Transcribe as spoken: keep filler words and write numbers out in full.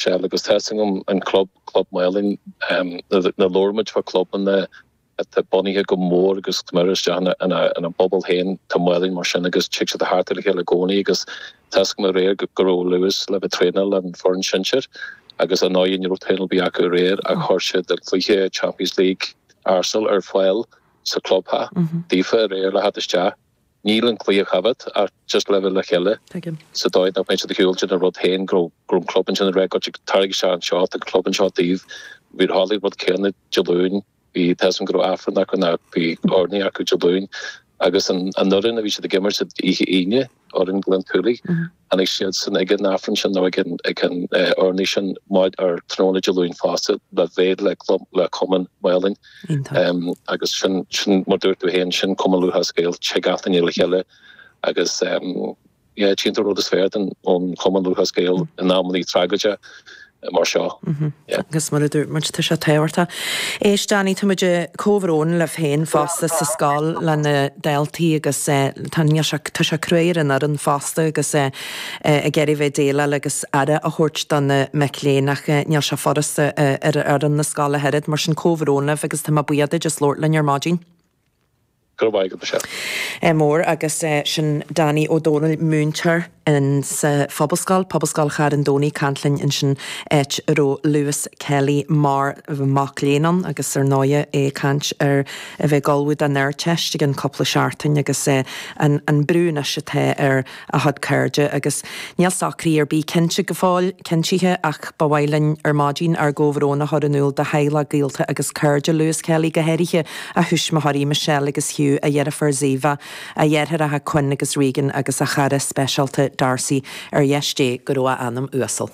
Michelle agus tá agam an club club Maelin na lormaid fa clubanna atá bunaithe go mór agus mar isteach ina ina bpobal féin tá Maelin mar sin agus tig siad thart le chéile i gcónaí agus tá agam aréir go raibh Lewis le bheith traenáil an foireann sinsir agus an ní raibh traenáil bí acu aréir a chuir siad an cluiche Champions League Arsenal ar fáil sa clubtheach daofa aréir le theacht isteach. Níl an cluiche agat ach just le bheith le chéile sa dóigh nach mbeidh siad ag siúl an rud féin go raibh an club ansin a go tarraig sé anseo an club anseo daoibh bhí tharlaigh rud céanna Dé Luain bhí tá agam go raibh Aifreann acu nó bhí urnaí acu Dé Luain agus an an fhoireann a bhí siad ag imirt oíche Aoine fhoireann Glen Tualaigh tháinig siad san ag an Aifreann sin nó ag an ag an urnaí sin maid ar tráthnóna Dé Luain fosta le bheith le club le Cumann Maelin um, agus sin sin mar dúirt tú féin sin Cumann Lúthchleas Gael tig gach duine le chéile agus um, yeah, tchíonn tú rud is fearr den ón Cumann Lúthchleas Gael in amanna tragóide mar seo. Agus mar a dúirt muid tá sé tábhachtach. Éist Danny tá muid comhbhrón le féin fosta sa scoil le na daltaí agus tá tá sé crua ar an fhoireann fosta agus ag iarraidh bheith déileáil agus aire a thabhairt do na mic léinn ach níl sé furasta ar ar an na scoile oiread mar sin comhbhrón libh agus tá mé buíoch duit as labhairt linn ar maidin. Go raibh maith agat. Mór agus sin Danny Ó Dónaill múinteoir in sa Phobalscoil, Pobalscoil Charn Domhnaigh caint linn ansin áit a raibh Lewis Kelly mar mac léinn ann agus ar ndóigh é caint ar a bheith ag ullmhú don Ardteist ag an cúpla seachtain agus an, an brú anois atá ar a chuid cairde agus níl socruithe ar bith cinnte go fóill cinntithe ach ba mhaith linn ar maidin ár gcomhbhrón a chur in iúl do theaghlach gaolta agus cairde Lewis Kelly go háirithe a thuismitheoirí Michelle agus Hugh a dheirfiúr Ziva a dheartháireacha Quinn agus Regan agus a chara speisialta Darcy ar dheis Dé go raibh a anam uasal.